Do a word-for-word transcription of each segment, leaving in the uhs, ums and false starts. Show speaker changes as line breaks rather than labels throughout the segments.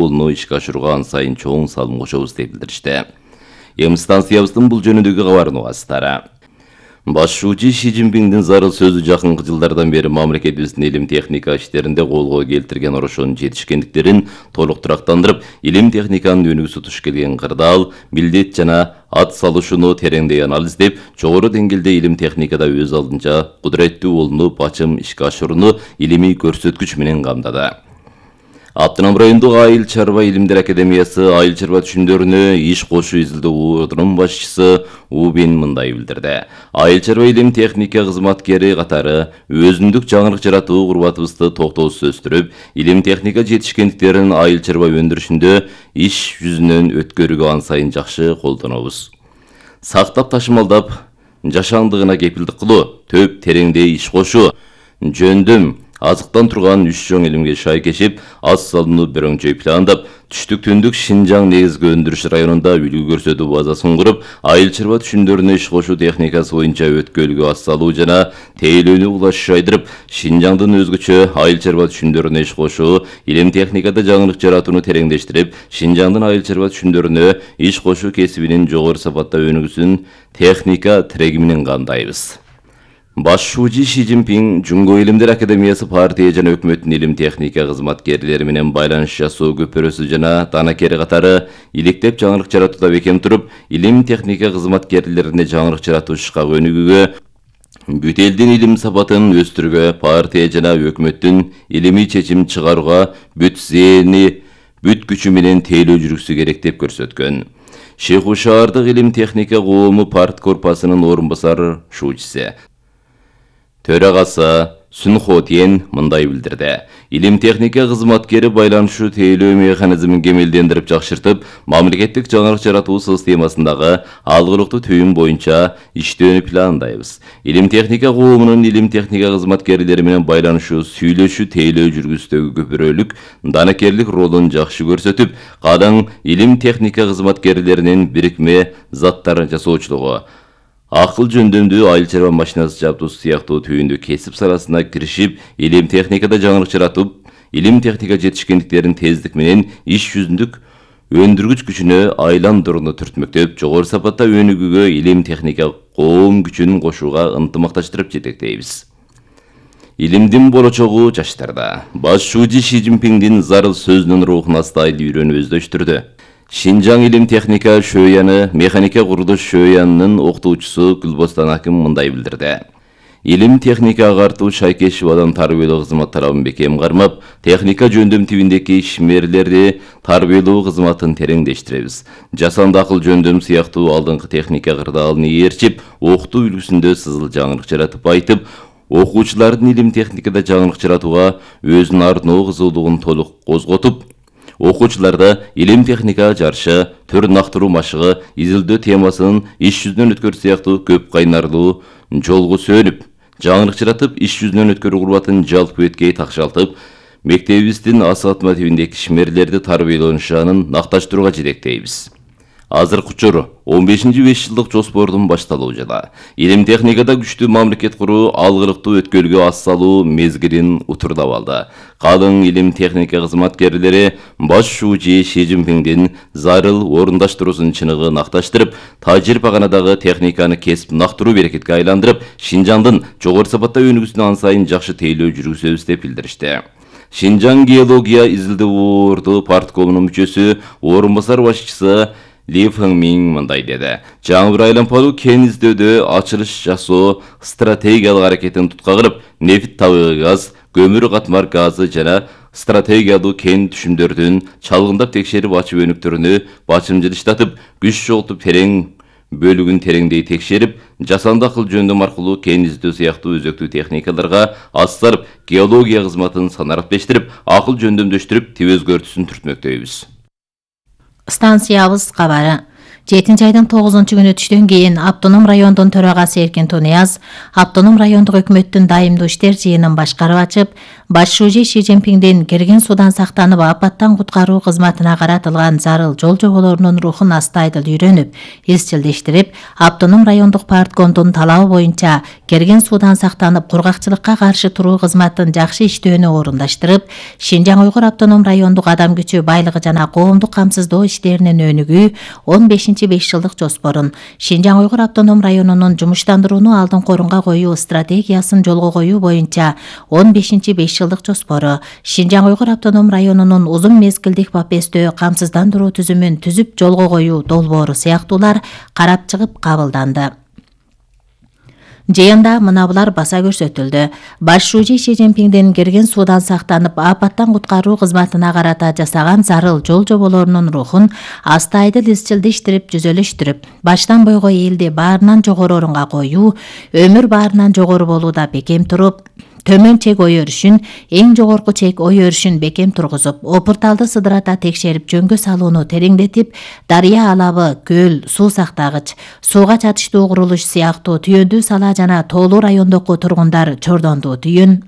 жолуну ишке ашырууга ан сайын чоң салым кошобуз деп билдиришти. Эми станциябыздын бул жөнүндөгү кабарын угасыздар. Башчы Ши Цзиньпиндин зарыл сөзү жакынкы жылдардан бери мамлекетибиздин илим техника иштеринде колго келтирген орошонун жетишкендиктерин толук турактандырып, илим техниканын өнүгүүсү туш келген кырдаал, милдет жана ат салышууну тереңдей анализдеп, жогору деңгээлде илим техникада өз алдынча кудуреттүү болууну бачым ишке ашырууну илимий көрсөткүч менен камдады. Аптынам райондук Айыл чарба илимдер академиясы айыл чарба түшүмдөрүнө иш кошуу изилдөө ордунун башчысы Убин мындай билдирди. Айыл чарба илим техника кызматкери катары өзүндүк жаңырык жаратуу курбатыбызды токтоосуз өстүрүп, илим техника жетишкендиктерин айыл чарба өндүрүшүндө иш жүзүнөн өткөрүүгө ан сайын жакшы колдонобуз. Сактап ташымалдап, жашандыгына кепилдик кылуу, төп тереңдей иш кошуу, жөндөм азыктан турган үч чоң илимге шай кешип, аз салууну бирөңчөй пландап, түштүк түндүк Шинжаң негизги өндүрүш районунда үлгү көрсөтүү базасын куруп, айыл чарба түшүмдөрүнө иш кошуу техникасы боюнча өткөлгө аз салуу жана тейлөөнү улаш жайдырып, Шинжаңдын өзгөчө айыл чарба түшүмдөрүнө иш кошуу, илим техникада жаңырык жаратууну тереңдештирип, Шинжаңдын айыл чарба түшүмдөрүнө иш кошуу кесибинин жогору сапатта өнүгүүсүн техника тиреги менен камдайбыз. Башчы Ши Цзиньпин Жунго илимдер академиясы партия жана өкмөттүн илим техника кызматкерлери менен байланыш жасоо көпүрөсү жана данакери катары иликтеп жаңырык жаратууда бекем туруп, илим техника кызматкерлерине жаңырык жаратуу ишкак өнүгүүгө, бүт элдин илим сапатын өстүрүүгө, партия жана өкмөттүн илимий чечим чыгарууга бүт зээни, бүт күчү менен тейлөө жүргүзүшү керек деп көрсөткөн. Шейху шаардык илим техника коому парт корпусунун орун басар шуучусу Төрагасы Сүнхо Тен мындай билдирди. Илим техника кызматкери байланышуу тейлөө механизмин кемелдендирип жакшыртып, мамлекеттик жаңырык жаратуу системасындагы алгылыктуу түйүн боюнча иштөөнү пландайбыз. Илим техника коомунун илим техника кызматкерлери менен байланышуу, сүйлөшүү, тейлөө жүргүздөгү көпүрөлүк данакерлик ролун жакшы көрсөтүп, кадаң илим техника кызматкерлеринин бирикме заттар жасоочулугу, акыл жөндөмдүү айыл чарба машинасы жабдуусу сыяктуу түйүндүү кесип саласына киришип, илим техникада жаңырык жаратып, илим техника жетишкендиктерин тездик менен иш жүзүндүк өндүргүч күчүнө айландырууну түртмөктөп, жогору сапатта өнүгүүгө илим техника коом күчүн кошууга ынтымакташтырып жетектейбиз. Илимдин болочогу жаштарда. Башчы Ши Цзиньпиндин зарыл сөзүнүн рухуна стайлы үйрөнүү өздөштүрдү. Шинжаң илим техника шөөяны, механика курулуш шөөянынын окутуучусу Гүлбостан аким мындай билдирди. Илим техника агартуу Шайкешевадан тарбиялоо кызмат талабын бекем кармап, техника жөндөм тибиндеги ишмерлерди тарбиялоо кызматын тереңдештиребиз. Жасанды акыл жөндөм сыяктуу алдыңкы техника кырдаалын ээрчип, окутуу үлгүсүндө сызыл жаңырык жаратып айтып, окуучулардын илим техникада жаңырык жаратууга өзүнүн арноо кызуулугун толук козготуп, окуучуларда илим техника жарышы, төр нактыруу машыгы, изилдөө темасын иш жүзүнөн өткөрүү сыяктуу көп кайнарлуу жолго сөнүп, жаңырык жаратып, иш жүзүнөн өткөрүү курбатын жалпы эткей такшалтып, мектебибиздин асатма тибиндеги ишмерлерди тарбияланышанын накташтырууга жетектейбиз. Азыркы учур он бешинчи беш жылдык жоспордун башталуу жана илим техникада күчтүү мамлекет куруу, алгылыктуу өткөлгө аз салуу мезгилин утурлап алды. Калың илим техника кызматкерлери башчы Ши Цзиньпиндин зарыл орундаштыруусун чыныгы накташтырып, тажрыйбаканадагы техниканы кесип нактыруу берекетке айландырып, Шинжаңдын жогору сапатта өнүгүүсүнө ан сайын жакшы тейлөө жүргүзөбүз деп билдиришти. Шинжаң геология изилдөө орду парткомунун мүчөсү, орун басар башчысы Ли Фэнгмин мындай деди. Жаңбыр айланпалуу кен издөөдө ачылыш жасоо стратегиялык аракетин тутка кылып, нефт, табигый газ, көмүр катмар газы жана стратегиялуу кен түшүмдөрдүн чалгындап текшерип ачып өнүктөрүнү бачымжылыштатып, күч жоготуп терең бөлүгүн тереңдей текшерип, жасанды акыл жөндөм аркылуу кен издөө сыяктуу өзөктүү техникаларга аз салып, геология кызматын санараптештирип, акыл жөндөмдөштүрүп, тип өзгөртүүсүн түртмөктөйбүз.
Станциябыз кабары. жетинчи айдын тогузунчу күнү түштөн кийин Автоном райондун төрагасы Эркин Тунияз Автоном райондук өкмөттүн дайымдуу иштер жыйынын башкарып ачып, баш шүүжи Ши Цзиньпиндин кирген суудан сактанып апаттан куткаруу кызматына каратылган зарыл жол жоболорунун рухун астайдыл үйрөнүп, изчилдештирип, Автоном райондук парткомдун талабы боюнча кирген суудан сактанып кургакчылыкка каршы туруу кызматын жакшы иштөөнү орундаштырып, Шинжаң Уйгур автоном райондук адам күчү байлыгы жана коомдук камсыздоо иштеринин өнүгүү он бешинчи беш жылдык жоспорун, Шинжаң Уйгур автоном районунун жумуштандырууну алдыңкы орунга коюу стратегиясын жолго коюу боюнча он бешинчи беш жылдык жоспору, Шинжаң Уйгур автоном районунун узун мезгилдик бапестөө камсыздандыруу түзүмүн түзүп жолго коюу долбоору сыяктуулар карап чыгып кабылданды. Жыйында мына булар баса көрсөтүлдү. Баш шүүжи Ши Цзиньпиндин кирген суудан сактанып апаттан куткаруу кызматына карата жасаган зарыл жол жоболорунун рухун астайдыл изчилдештирип, жүзөлөштүрүп, баштан бойго элди баарынан жогору орунга коюу, өмүр баарынан жогору болууда бекем туруп, төмөн чек ой өрүшүн, эң жогорку чек ой өрүшүн бекем тургузуп, опурталды сыдырата текшерип жөнгө салууну тереңдетип, дарыя алабы, көл, суу сактагыч, сууга чатыштуу курулуш сыяктуу түйөндүү сала жана тоолуу райондогу тургундар чордондуу түйүн,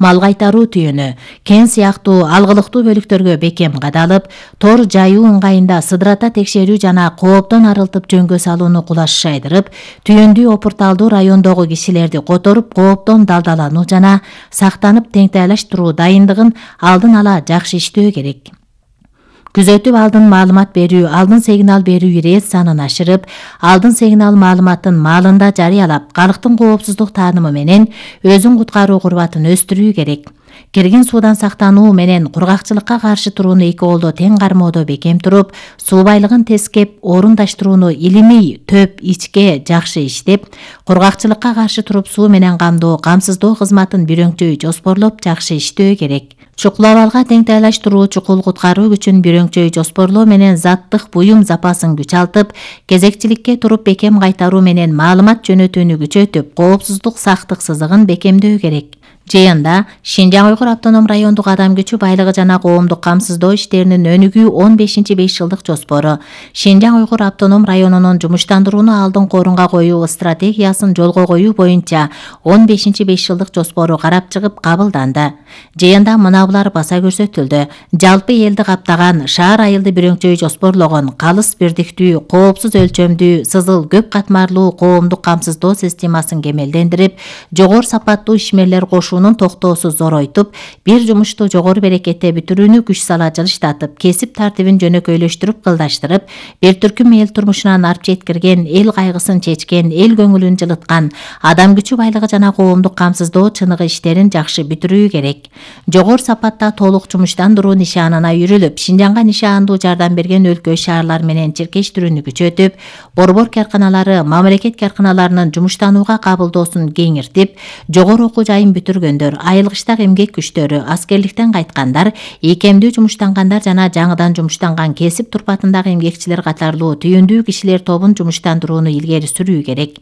мал кайтаруу түйүнү, кен сыяктуу алгылыктуу бөлүктөргө бекем кадалып, тор жайуу ыңгайында сыдырата текшерүү жана кооптон арылтып жөнгө салууну кулаш шайдырып, түйөндүү опурталдуу райондогу кишилерди которуп, кооптон далдалануу жана сактанып теңтайлаштыруу дайындыгын алдын ала жакшы иштөө керек. Күзөтүп алдын маалымат берүү, алдын сигнал берүү ирет санын ашырып, алдын сигнал маалыматын маалында жарыялап, калктын коопсуздук таанымы менен өзүн куткаруу курбатын өстүрүү керек. Кирген суудан сактануу менен кургакчылыкка каршы турууну эки колдо тең кармоодо бекем туруп, суу байлыгын тескеп, орундаштырууну илимий төп ичке жакшы иштеп, кургакчылыкка каршы туруп суу менен камдоо, камсыздоо кызматын бирөңчөй жоспорлоп жакшы иштөө керек. Чукул абалга теңтайлаштыруу, чукул куткаруу күчүн бирөңчөй жоспорлоо менен заттык буюм запасын күчалтып, кезекчиликке туруп бекем кайтаруу менен маалымат жөнөтүүнү күчөтүп, коопсуздук сактык сызыгын бекемдөө керек. Жыйында Шинжаң Уйгур автоном райондук адам күчү байлыгы жана коомдук камсыздоо иштеринин өнүгүү он бешинчи беш жылдык жоспору, Шинжаң Уйгур автоном районунун жумуштандырууну алдыңкы орунга коюу стратегиясын жолго коюу боюнча он бешинчи беш жылдык жоспору карап чыгып кабылданды. Жыйында мына булар баса көрсөтүлдү. Жалпы элди каптаган шаар айылды бирөңчөй жоспорлогон калыс бирдиктүү, коопсуз өлчөмдүү, сызыл көп катмарлуу коомдук камсыздоо системасын кемелдендирип, жогору сапаттуу ишмерлер кошуунун токтоосуз зоройтуп, бир жумушту жогору берекетте бүтүрүүнү күч сала жылыштатып, кесип тартибин жөнөкөйлөштүрүп, кылдаштырып, бир түркүм эл турмушунан арп жеткирген, эл кайгысын чечкен, эл көңүлүн жылыткан, адам күчү байлыгы жана коомдук камсыздоо чыныгы иштерин жакшы бүтүрүү керек. Жогору сапатта толук жумуштандыруу нишанына үйрүлүп, Шинжаңга нишандуу жардам берген өлкө шаарлар менен чиркештирүүнү күчөтүп, борбор карканалары, мамлекет карканаларынын жумуштанууга кабылдоосун кеңиртип, жогору окуу жайын бүтүргөндөр, айылгычтак эмгек күчтөрү, аскерликтен кайткандар, ийкемдүү жумуштангандар жана жаңыдан жумуштанган кесип турпатындагы эмгекчилер катарлуу түйүндүү кишилер тобун жумуштандырууну илгери сүрүү керек.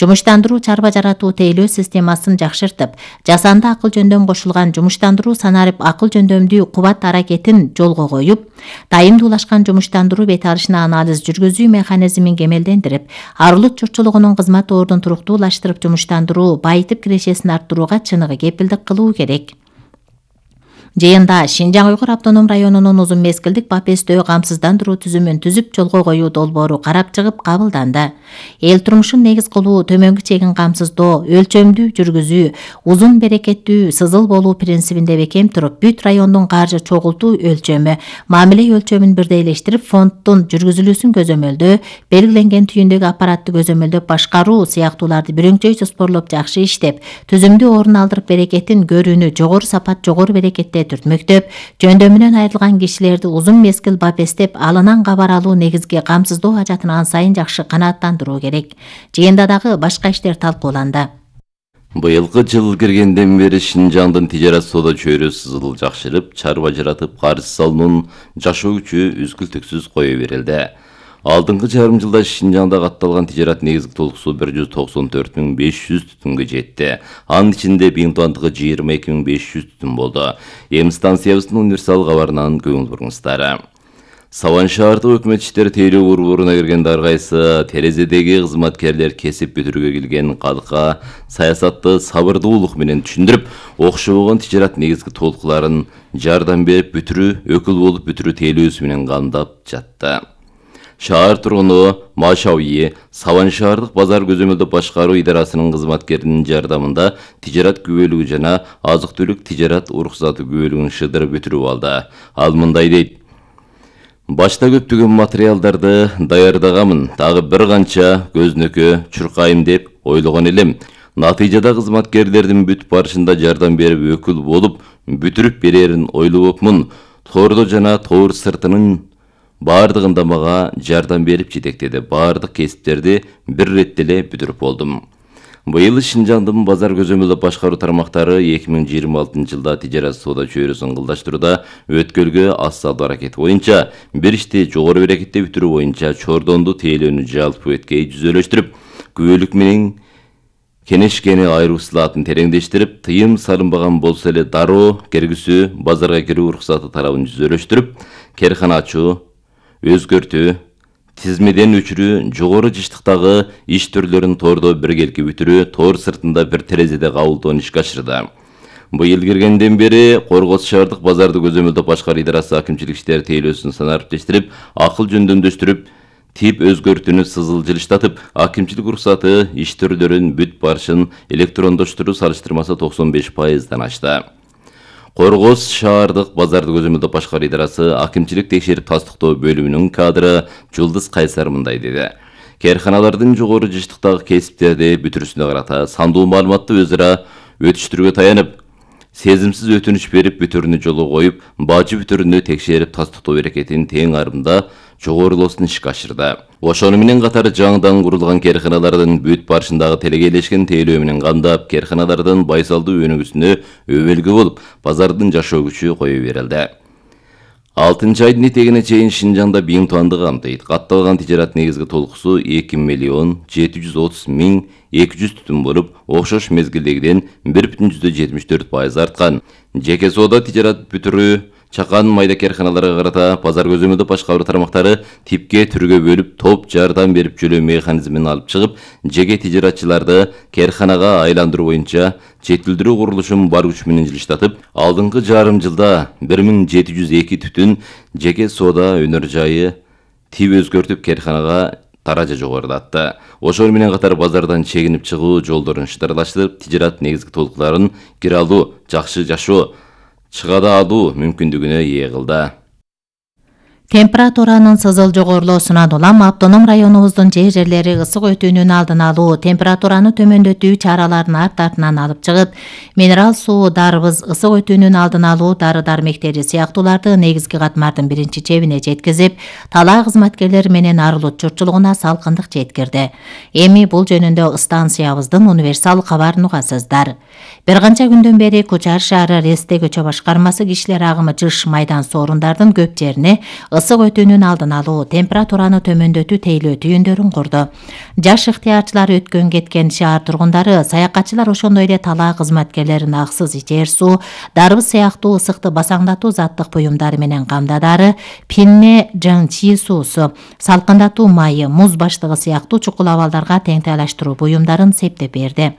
Жумуштандыруу чарба жаратуу тейлөө системасын жакшыртып, жасанды акыл жөндөм кошулган жумуштандыруу санарип акыл жөндөмдүү кубат аракетин жолго коюп, тайымдуулашкан жумуштандыруу бет алышына анализ жүргүзүү механизмин кемелдендирип, арылык журтчулугунун кызмат ордун туруктуулаштырып жумуштандыруу, байытып кирешесин арттырууга чыныгы кепилдик кылуу керек. Жыйында Шинжаң Уйгур автоном районунун узун мезгилдик бапестөө камсыздандыруу түзүмүн түзүп жолго коюу долбоору карап чыгып кабылданды. Эл турмушун негиз кылуу, төмөнгү чегин камсыздоо, өлчөмдүү жүргүзүү, узун берекеттүү, сызыл болуу принцибинде бекем туруп, бүт райондун каржы чогултуу өлчөмү, мамиле өлчөмүн бирдейлештирип, фонддун жүргүзүлүүсүн көзөмөлдөө, белгиленген түйүндөгү аппаратты көзөмөлдөп башкаруу сыяктууларды бирөңчөй жоспорлоп жакшы иштеп, түзүмдүү орун алдырып берекетин көрүүнү жогору сапат, жогору берекетте түртмөктөп, жөндөмүнөн айрылган кишилерди узун мезгил бапестеп, алынан кабар алуу негизги камсыздоо ажатын ан сайын жакшы канааттандыруу керек. Жыйында дагы башка иштер талкууланды.
Быйылкы жыл киргенден бери Шинжаңдын тижарат соода чөйрө сызыл жакшырып, чарба жаратып, карыз салуунун жашоо күчү үзгүлтүксүз кое берилди. Алдыңкы жарым жылда Шинжаңда катталган тижарат негизги толугусу бир жүз токсон төрт миң беш жүз түтүнгө жетти. Анын ичинде биң тоннадыгы жыйырма эки миң беш жүз түтүн болду. Эми станциябыздын универсал кабарынан көңүл буруңуздар. Саван шаардык өкмөт иштери тейлөө борборуна кирген ар кайсы терезедеги кызматкерлер кесип бүтүрүүгө келген калкка саясатты сабырдуулук менен түшүндүрүп, окшобогон тижарат негизги толкуларын жардам берип бүтүрүү, өкүл болуп бүтүрүү тейлөөсү менен камдап жатты. Шаар тургуну Машауи Саван шаардык базар көзөмөлдөө башкаруу идарасынын кызматкеринин жардамында тижарат күбөлүгү жана азык-түлүк тижарат уруксаты күбөлүгүн шыдырып бүтүрүп алды. Ал мындай дейт: Башта көптөгөн материалдарды даярдаганмын, дагы бир канча көзнөкө чуркайм деп ойлогон элем. Натыйжада кызматкерлердин бүт барышында жардам берип өкүл болуп бүтүрүп берерин ойлобопмун. Тордо жана тоор сыртынын баардыгында мага жардам берип жетектеди. Баардык кесиптерди бир иретте эле бүтүрүп болдум. Быйыл Шинжаңдын базар көзөмөлдөө башкаруу тармактары эки миң жыйырма алтынчы жылда тижарат соода чөйрөсүн кылдаштырууда өткөлгө аз салдуу аракети боюнча бир ишти жогору берекетте бүтүрүү боюнча чордонду тейлөөнү жалпы өткөй жүзөлөштүрүп, күбөлүк менен кенешкени айруу сылаатын тереңдештирип, тыйым салынбаган болсо эле дароо киргизүү, базарга кирүү уруксаты талабын жүзөлөштүрүп, керкана ачуу, өзгөртүү, тизмеден өчүрүү, жогору жыштыктагы иш түрлөрүн тордо биргелки бүтүрүү, тоор сыртында бир терезеде кабылтууну ишке ашырды. Быйыл киргенден бери Коргоз шаардык базарды көзөмөлдөө башкаруу идарасы акимчилик иштери тейлөөсүн санариптештирип, акыл жөндөмдөштүрүп, тип өзгөртүүнү сызыл жылыштатып, акимчилик уруксаты иш түрлөрүн бүт барышын электрондоштуруу салыштырмасы токсон беш пайыздан ашты. Коргоз шаардык базарды көзөмөлдөө башкаруу идарасы акимчилик текшерип тастыктоо бөлүмүнүн кадры Жулдыз Кайсар мындай деди: Керканалардын жогору жыштыктагы кесиптерди бүтүрүүсүнө карата сандуу маалыматты өзара өтүштүрүүгө таянып, сезимсиз өтүнүч берип бүтүрүүнү жолго коюп, бажы бүтүрүүнү текшерип тастыктоо берекетин тең арымда жогорулоосун ишке ашырды. Ошону менен катар жаңыдан курулган керканалардын бүт барышындагы телегейлешкен тейлөө менен камдап, керканалардын байсалдуу өнүгүүсүнө өбөлгө болуп, базардын жашоо күчү кое берилди. алтынчы айдын этегине чейин Шинжаңда биң туанды камтыйт. Катталган тижарат негизги толкусу эки миллион жети жүз отуз миң эки жүз түтүн болуп, окшош мезгилдегиден бир бүтүн жүздөн жетимиш төрт пайыз арткан. Жеке соода тижарат бүтүрүү чакан майда керканаларга карата базар көзөмөлдөө башкаруу тармактары типке түргө бөлүп, топ жардам берип жөлөө механизмин алып чыгып, жеке тижаратчыларды керканага айландыруу боюнча жетилдирүү курулушун бар күч менен жылыштатып, алдыңкы жарым жылда бир миң жети жүз эки түтүн жеке соода өнөр жайы тип өзгөртүп керканага таража жогорулатты. Ошол менен катар базардан чегинип чыгуу жолдорун шыдарлаштырып, тижарат негизги толкуларын кире алуу, жакшы жашоо, чыгада алуу мүмкүндүгүнө ээ кылды.
Температуранын сызыл жогорулоосунан улам автоном районубуздун жер жерлери ысык өтүүнүн алдын алуу, температураны төмөндөтүү чараларын арт артынан алып чыгып, минерал суу, дарбыз, ысык өтүүнүн алдын алуу дары-дармектери сыяктууларды негизги катмардын биринчи чебине жеткизип, талаа кызматкерлери менен арылут журтчулугуна салкындык жеткирди. Эми бул жөнүндө станциябыздын универсал кабарын угасыздар. Бир канча күндөн бери Кучар шаары Ресте көчө башкармасы кишилер агымы жыш майдан соорундардын көп жерине ысык өтүүнүн алдын алуу, температураны төмөндөтүү тейлөө түйүндөрүн курду. Жаш ыктыярчылар өткөн кеткен шаар тургундары, саякатчылар ошондой эле талаа кызматкерлерин аксыз ичер суу, дарбыз сыяктуу ысыкты басаңдатуу заттык буюмдары менен камдадары, пинне жан чи суусу, салкындатуу майы, муз баштыгы сыяктуу чукул абалдарга теңтайлаштыруу буюмдарын септеп берди.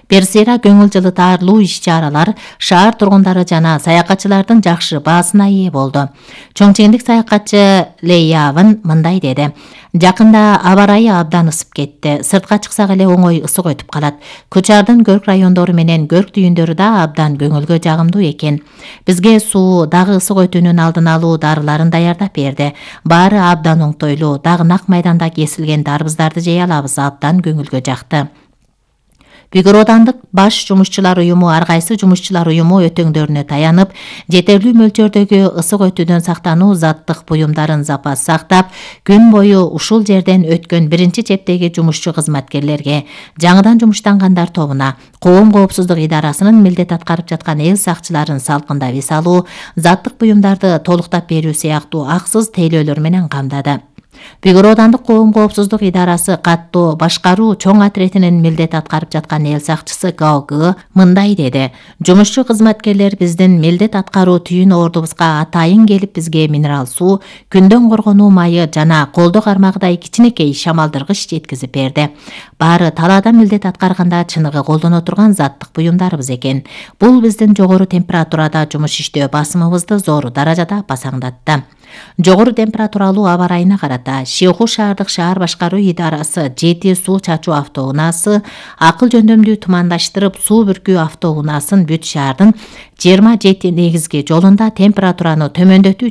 Персера көңүл жылытарлуу иш-чаралар шаар тургундары жана саякатчылардын жакшы баасына ээ болду. Чоңчеңдик саякатчы Лейявын мындай деди: Жакында аба ырайы абдан ысып кетти. Сыртка чыксак эле оңой ысык өтүп калат. Кучардын көрк райондору менен көрк түйүндөрү да абдан көңүлгө жагымдуу экен. Бизге суу, дагы ысык өтүүнүн алдын алуу дарыларын даярдап берди. Баары абдан оңтойлуу. Дагы нак майданда кесилген дарбыздарды жей алабыз, абдан көңүлгө жакты. Бүгүр Оодандык баш жумушчулар уюму ар кайсы жумушчулар уюму өтөңдөрүнө таянып, жетерлүү мөлчөрдөгү ысык өтүүдөн сактануу заттык буюмдарын запас сактап, күн бою ушул жерден өткөн биринчи чептеги жумушчу кызматкерлерге, жаңыдан жумуштангандар тобуна, коом коопсуздук идарасынын милдет аткарып жаткан эл сакчыларын салкында эс алуу, заттык буюмдарды толуктап берүү сыяктуу аксыз тейлөөлөр менен камдады. Бүгүр оодандык коом коопсуздук идарасы каттоо башкаруу чоң отретинин милдет аткарып жаткан эл сакчысы Гао Гэ мындай деди: жумушчу кызматкерлер биздин милдет аткаруу түйүн ордубузга атайын келип бизге минерал суу, күндөн коргонуу майы жана колдо кармагыдай кичинекей шамалдыргыч жеткизип берди. Баары талаада милдет аткарганда чыныгы колдоно турган заттык буюмдарыбыз экен. Бул биздин жогору температурада жумуш иштөө басымыбызды зор даражада басаңдатты. Жогору температуралуу аба ырайына карата Шиоху шаардык шаар башкаруу идарасы жети суу чачуу автоунаасы акыл жөндөмдүү тумандаштырып суу бүркүү автоунаасын бүт шаардын жыйырма жети негизги жолунда температураны төмөндөтүү